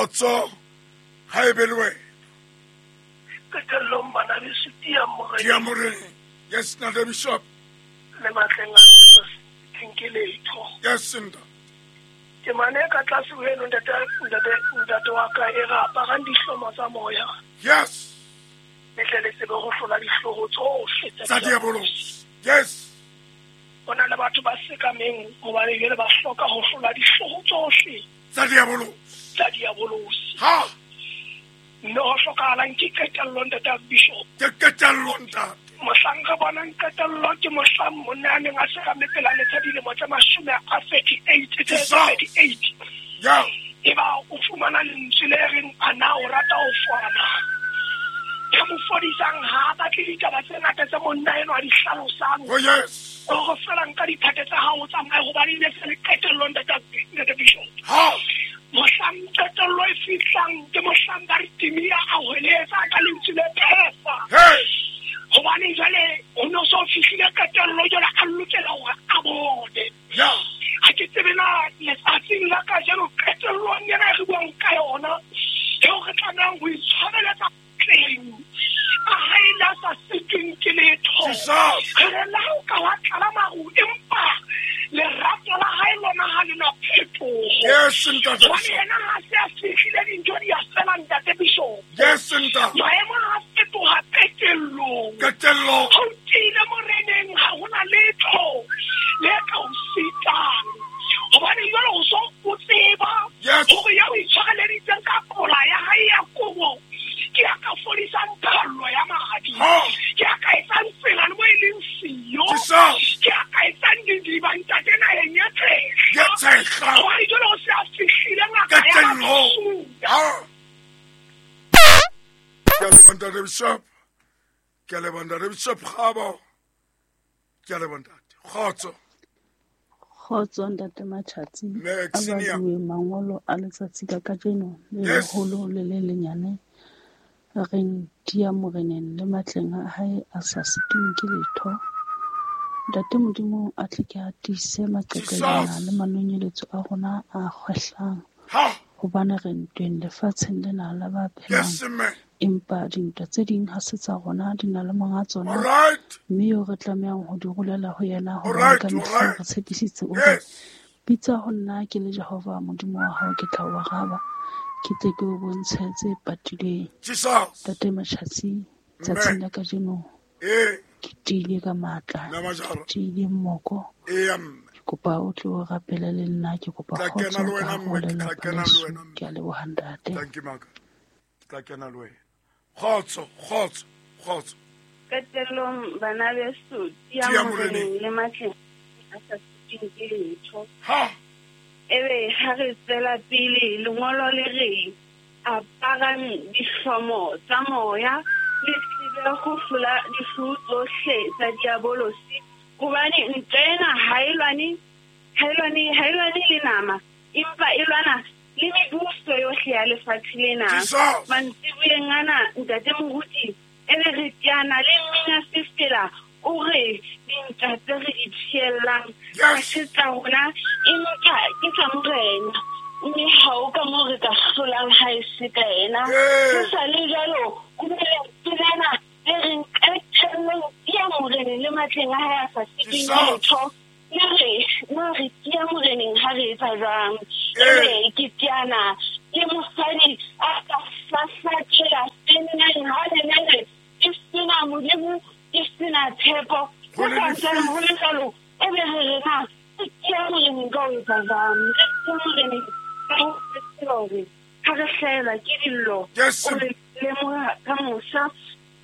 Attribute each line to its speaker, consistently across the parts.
Speaker 1: Kgotso ha e be le wena.
Speaker 2: Qetellong bana beso, tiya Moreneng.
Speaker 1: Tiya Moreneng. Yes, Ntate Bishop.
Speaker 2: Le matleng a sa sitweng ke letho.
Speaker 1: Yes, ntate.
Speaker 2: Temana e ka tlase ho eno, ntate, ntate, ntate wa ka, e re aparang dihlomo tsa moya.
Speaker 1: Yes.
Speaker 2: Le tle le tsebe ho hlola dihloho tsohle
Speaker 1: tsa diabolosi. Yes.
Speaker 2: Ho na le batho ba sekameng hobane jwale ba hloka ho hlola dihloho tsohle
Speaker 1: tsa diabolosi.
Speaker 2: Tsa diabolosi.
Speaker 1: Ha.
Speaker 2: Mme ho hlokahalang ke qetello, ntate Bishop.
Speaker 1: Ke qetello, ntate.
Speaker 2: Mohlang re bonang qetello ke mohlang monna a neng a sekame pela letsha dilemo tse mashome a 38, tse 38.
Speaker 1: Yeah.
Speaker 2: Eba o fumana lentswe le reng a na o rata ho fola. Ya mo fodisang ha a batle ditaba tse ngata tse monna enwa a di hlalosang.
Speaker 1: Oh, yes.
Speaker 2: O re fela nka diphate tsa hao o tsamaye hobane e ne se le qetello, ntate Bishop.
Speaker 1: Ha.
Speaker 2: Mohlang qetello e fihlang ke mohlang ba re Timia a hweletsa ka lentswe le phefa.
Speaker 1: Hey.
Speaker 2: Hobane jwale o no so fihlile qetello, jwale a lokela hore a bone.
Speaker 1: Yeah.
Speaker 2: Ha ke tsebe na letsatsing la kajeno qetellong ena e re buang ka yona, eo re tlamehang ho itshwareletsa tleng a hae le a sa sitweng ke letho.
Speaker 1: Jesus.
Speaker 2: Re re le ha o ka wa tlala maru, empa lerato la hae lona ha le na phetoho.
Speaker 1: Yes, ntate.
Speaker 2: Hobane yena ha se a fihlile dintho di a fela, ntate Bishop.
Speaker 1: Yes, ntate.
Speaker 2: Maemo ha a fetoha qetellong.
Speaker 1: Qetellong.
Speaker 2: Ha o tiile Moreneng, ha hona letho le ka o sitang. Hobane jwale o so o tseba
Speaker 1: Yes.
Speaker 2: hore ya o itshwareleditseng ka kola ya hae ya kobo ke ya ka fodisang phallo ya madi.
Speaker 1: Ha.
Speaker 2: Ke ya ka etsang tsela le mo e leng siyo.
Speaker 1: Jesus.
Speaker 2: Ke ya ka etsang didiba ntate naheng ya tshehla.
Speaker 1: Ya tshehla.
Speaker 2: Hobane jwale o se a fihlile ngaka ya
Speaker 1: Qetellong.
Speaker 2: Masuya.
Speaker 1: Ha. Ke a leboha, ntate Bishop. Ke a leboha, ntate Bishop Kgabo. Ke a leboha, ntate. Kgotso.
Speaker 3: Kgotso, ntate Matjhatsi.
Speaker 1: Mme
Speaker 3: A
Speaker 1: Xenia.
Speaker 3: baduwe mangolo a letsatsi la kajeno le
Speaker 1: Yes.
Speaker 3: leholo le le lenyane a reng tiya Moreneng le matleng a hae a sa sitweng ke letho. Ntate Modimo a tle ke a tiise maqeqelwana
Speaker 1: Jesus.
Speaker 3: le manonyeletso a rona a kgwehlang.
Speaker 1: Ha.
Speaker 3: Hobane re ntweng lefatsheng lena la ba phelang.
Speaker 1: Yes, mme.
Speaker 3: Empa dintwa tse ding ha se tsa rona, di na le monga tsona.
Speaker 1: All right.
Speaker 3: Mme eo re tlamehang ho di rolela ho yena
Speaker 1: All
Speaker 3: hobane
Speaker 1: right,
Speaker 3: ka
Speaker 1: all
Speaker 3: mehla
Speaker 1: right.
Speaker 3: re tshepisitse o re,
Speaker 1: Yes.
Speaker 3: bitsa ho nna ke le Jehova Modimo wa hao, ke tla o araba, ke tle ke o bontshe tse patilweng.
Speaker 1: Jesus.
Speaker 3: Ntate Matjhatsi,
Speaker 1: Mme.
Speaker 3: tsatsing la kajeno
Speaker 1: Eh.
Speaker 3: ke tiile ka matla,
Speaker 1: Mme Majara.
Speaker 3: ke tiile mmoko.
Speaker 1: Eh, mme.
Speaker 3: Ke kopa o tle o rapele le nna, ke kopa
Speaker 1: Tla
Speaker 3: kgotso
Speaker 1: kena le
Speaker 3: ka
Speaker 1: wena,
Speaker 3: hare ho
Speaker 1: mme. Ke tla
Speaker 3: lelapa
Speaker 1: kena le
Speaker 3: leso.
Speaker 1: wena, mme.
Speaker 3: Ke a leboha, ntate.
Speaker 1: Thank you, Maka. Ke tla kena le wena. Kgotso, kgotso, kgotso.
Speaker 4: Qetellong bana beso, tiya
Speaker 1: Tiya
Speaker 4: Moreneng
Speaker 1: Moreneng.
Speaker 4: le matleng a sa sitweng ke letho.
Speaker 1: Ha.
Speaker 4: Ebe ha re tswela pele, lengolo le re aparang dihlomo tsa moya, le tsebe ho hlola dihloho tsohle tsa diabolosi. Hobane ntwa ena ha e lwane, ha e lwane, ha e lwane le nama, empa e lwana le mebuso yohle ya lefatshe lena.
Speaker 1: Jesus.
Speaker 4: Mantsiboyeng ana, ntate moruti, ebe re teana le mmina sefela, o re dintwa tse re di tshiellang
Speaker 1: Yes.
Speaker 4: ha se tsa rona, empa ke tsa Morena. Mme ha o ka moo re ka hlolang ha e se ka yena.
Speaker 1: Ee.
Speaker 4: Ho sa le jwalo, ho na le lentswe lena le reng qetellong tiya Moreneng le matleng a hae a sa sitweng ke
Speaker 1: Jesus.
Speaker 4: letho. Le re, na re tiya Moreneng ha re etsa jwang?
Speaker 1: Ee.
Speaker 4: Ebe ke teana le mosadi a ka hlahlathela senneng ha lenene ke sena Modimo, ke sena tshepo.
Speaker 1: Ho
Speaker 4: Ho
Speaker 1: le
Speaker 4: sa ntsane
Speaker 1: lefifi.
Speaker 4: ho le jwalo, ebe re re na re tiya Moreneng ka ho etsa jwang? Re tiya Moreneng ka ho tseba hore ha re hlahelwa ke dillo,
Speaker 1: Yes.
Speaker 4: o re lemoha ka mosa.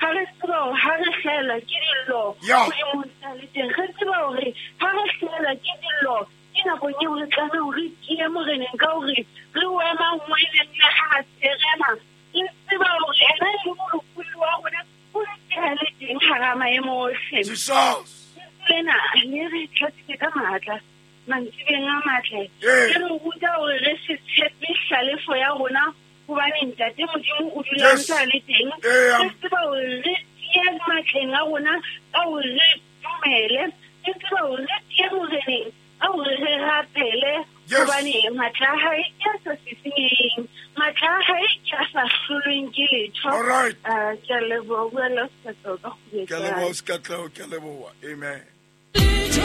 Speaker 4: Ha re tseba hore ha re hlahelwa ke dillo,
Speaker 1: Yeah.
Speaker 4: Modimo o ntse a le teng. Re tseba hore ha re hlahelwa ke dillo, ke nakong eo re tlameha hore re tiye Moreneng ka hore re o ema ngweleng le ha a serema. Re tseba hore ena e le molopolli wa rona, o ntse a le teng hara maemo ohle.
Speaker 1: Jesus.
Speaker 4: Lena le re tlatsitse ka matla, mantsibeng a matle.
Speaker 1: Ee.
Speaker 4: Le re ruta hore re se tshepe hlalefo ya rona, hobane ntate Modimo o dula
Speaker 1: Yes.
Speaker 4: ntse a le teng.
Speaker 1: Ee.
Speaker 4: Re tseba hore re tiye matleng a rona ka hore re dumele. Re tseba hore re tiye Moreneng ka hore re rapele. Hobane matla a hae ke a sa sisinyeheng, matla a hae ke a sa hlolweng ke letho.
Speaker 1: All right.
Speaker 4: Ke a leboha, bua le Sekatleho ka
Speaker 1: Ke a leboha Sekatleho, ke a leboha. Amen.